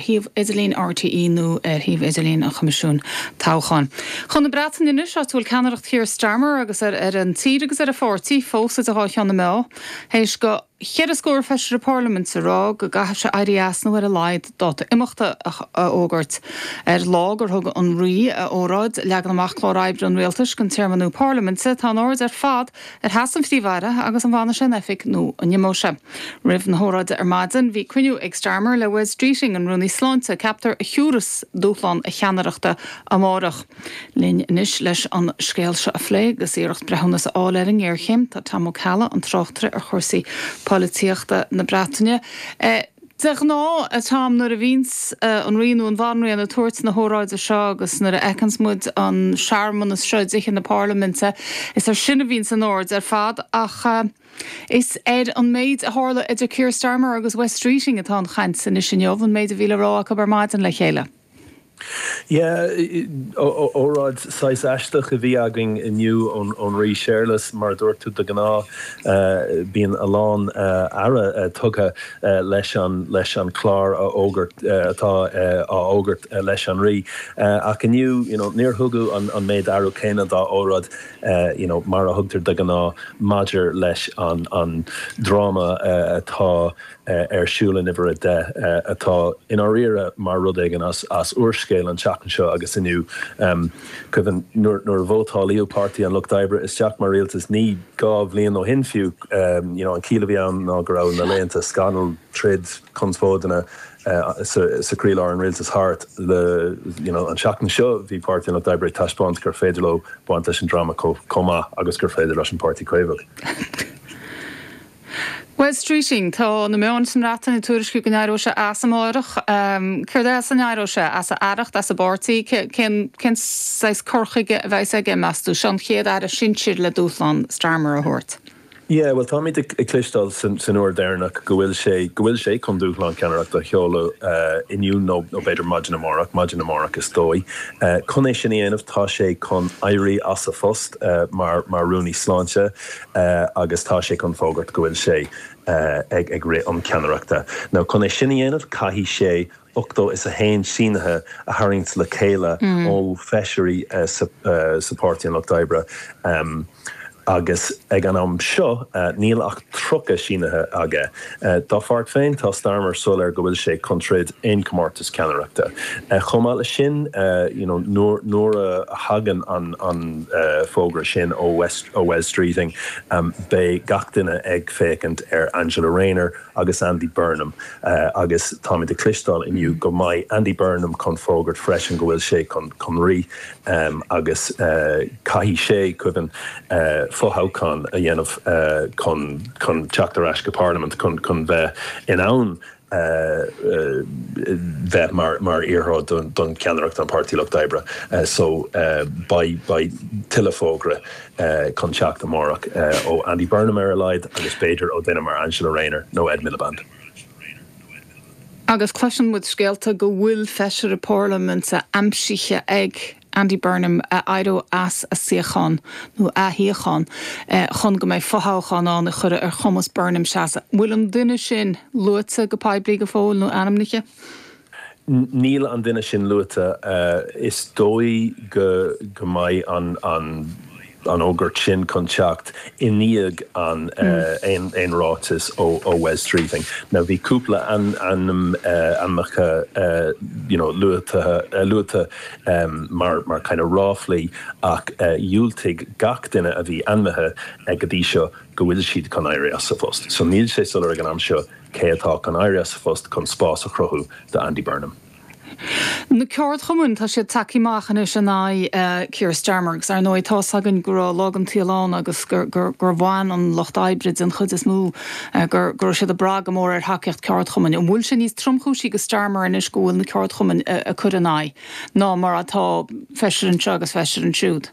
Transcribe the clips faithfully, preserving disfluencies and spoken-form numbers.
shuíomh idirlín R T E nó ar shuíomh idirlín an Choimisiúin Toghcháin. Chun na Breataine anois, áit a bhfuil ceannaireacht Keir Starmer agus ar ar an tír agus ar a pháirtí fós idir dhá cheann na meá, théis do cheithre scór feisire parlaiminte rá go gcaithfidh sé éirí as nó ar a laghad dáta imeachta a fhógairt. Ar lá gur thug an rí a óráid leagan amach clár oibre an rialtais don téarma nua parlaiminte, tá an aird ar fad ar sheasamh an Phríomh-Aire agus an bhfanfaidh sé in oifig nó an n-imeoidh sé. Roimh na hóráide ar maidin, bhí cruinniú ag Starmer le Wes Streeting, an rúnaí sláinte, ceaptar a thiúras dúshlán a cheannaireachta amárach. Linn anois leis an scéal seo a phlé agus iarracht breithiúnas a fháil ar an ngéarchéim, tá Tom Ó Ceallaigh, an tráchtaire ar chúrsaí polaitíochta na Breataine. Eh, De ghnáth, Tom, nuair a bhíonns uh, an rí nó an bhanríon ag tabhairt na hóráide seo agus nuair a fheiceanns muid an searmanas seo i dTithe na Parlaiminte, is ar sin a bhíonns an aird ar fad, ach uh, is ar an méid a tharla idir Keir Starmer agus Wes Streeting atá an chaint anois inniu, an méid a bhí le rá acu ar maidin le chéile. Yeah, óráid saghas aisteach a bhí againn inniu ón ón rí Séarlas. Mar dúirt tú, de ghnáth bíonn a lán aire tugtha leis an leis an clár a fhógairt atá á fhógairt leis an rí, ach inniu you know, níor thugadh an, an méid aire céanna dá óráid you know, mar a thugtar de ghnáth maidir leis an, an dráma atá ar siúl in uimhir a deich, atá i ndáiríre mar rud éigin as as úrscéal, an tseachtain seo agus inniu. um, Cuimhin nuair nuair a vótáladh Páirtí an Lucht Oibre isteach mar rialtas ní dhá bhliain ó shin fiú, um, you know, an chiall a bhí ann ná go raibh na laethanta scannal, troid, conspóideanna uh, sa, sa chroílár an rialtas thart le you know, an seachtain seo bhí Páirtí an Lucht Oibre taispeáint gur féidir leo baint leis an drama chomh maith agus gur féidir leis an Páirtí Caomhach. Wes Streeting, tá na meáin sa mBreatain ag tuairisciú go n-éireoidh sé as amárach, Céard as a n-éireoidh sé? As a aireacht, as a pháirtí, cén saghas cur chuige a bheas aige, meas tú? Seo an chéad aire sinsir le dúshlán Starmer a thabhairt. Yeah, well, táimid ag cloisteáil san uair dheireanach go bhfuil sé go bhfuil sé chun dúshlán ceannaireachta a sheoladh uh, inniu nó nó b'fhéidir maidin amárach, maidin amárach is dóigh. Uh, chun é sin a dhéanamh, tá sé chun éirí as a phost uh, mar mar rúnaí sláinte uh, agus tá sé chun fógairt go bhfuil sé uh, ag ag rith um ceannaireachta. Now chun é sin a dhéanamh, caithfidh sé ochtó is a haon sínithe a tharraingt le chéile mm. ó feisirí uh, sa, uh, sa Páirtí an Lucht Oibre. Um, agus ag an am seo uh, níl ach tríocha sínithe aige. Uh, dá pháirt féin, tá Starmer soiléir go bhfuil sé chun troid aon comórtas ceannaireachta. Uh, Chomh maith leis sin, uh, you know, nuair a thagann an, an uh, fógra sin ó West, ó Wes Streeting, um, beidh gach duine ag féachaint ar Angela Rayner agus Andy Burnham, uh, agus táimid ag cloisteáil inniu go mbeidh Andy Burnham chun fógairt freisin go bhfuil sé chun chun rith um, agus uh, caithfidh sé cuimhin uh, fothoghchán a dhéanamh uh, chun chun teacht ar ais go Parlaimint chun chun bheith in ann uh, uh, bheith mar mar iarrthóir don, don ceannaireacht an Páirtí Lucht Oibre. Uh, so uh, beidh beidh tuilleadh fógra uh, chun teacht amárach uh, ó Andy Burnham ar a laghad agus b'fhéidir ó duine mar Angela Rayner nó Ed Miliband. Agus cloiseann muid scéalta go bhfuil feisire parlaiminte aimsithe ag Andy Burnham a éireodh as a suíochán nó a shuíochán chun go mbeidh fothoghchán ann a chur ar chumas Burnham seasamh. Bhfuil an duine sin luaite go poiblí go fóill nó ainmnithe? Níl an duine sin luaite. uh, is dóigh go go mbeidh an an an fhógairt sin chun teacht i ndiaidh an uh, aon aon ráiteas ó ó Wes Streeting. Now bhí cúpla an an uh, ainmneacha uh, you know, luaite uh, luaite um, mar mar kind of ráflaí, ach uh, dhiúltaigh gach duine a bhí ainmnithe ag go dtí seo go bhfuil siad chun éirí as a phost. So níl sé soiléir ag an am seo cé atá chun éirí as a phost chun spás a chruthú do Andy Burnham. Na ceardchumainn, tá siad tagtha amach anois in aghaidh uh, Keir Starmer, agus ar ndóigh tá againn go raibh lá an tsaoil ann agus gur, gur, gur bhain an lucht oibre den chuid is mó uh, gur gur siad ag brath go mór ar thacaíocht ceardchumainn. An bhfuil sé níos tromchúisí do Starmer anois go bhfuil na ceardchumainn uh, ag cur ina aghaidh ná mar atá feisire anseo agus feisire ansiúd?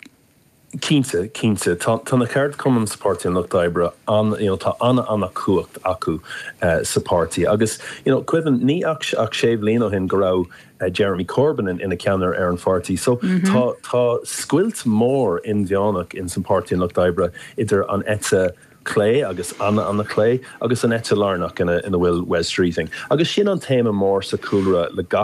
Cinnte, cinnte, tá tá na ceardchumainn sa Páirtí an Lucht Oibre an you know, tá an an-chumhacht acu uh, sa pháirtí agus you know, cuimhin ní ach ach sé bliana ó shin go raibh uh, Jeremy Corbyn in, ina cheannaire ar an pháirtí. So mm -hmm. tá tá scoilt mór inmheánach in san Páirtí an Lucht Oibre idir an eite clé agus an-an-chlé agus an eite lárnach ina ina bhfuil Wes Streeting. Agus sin an téama mór sa chúlra le gach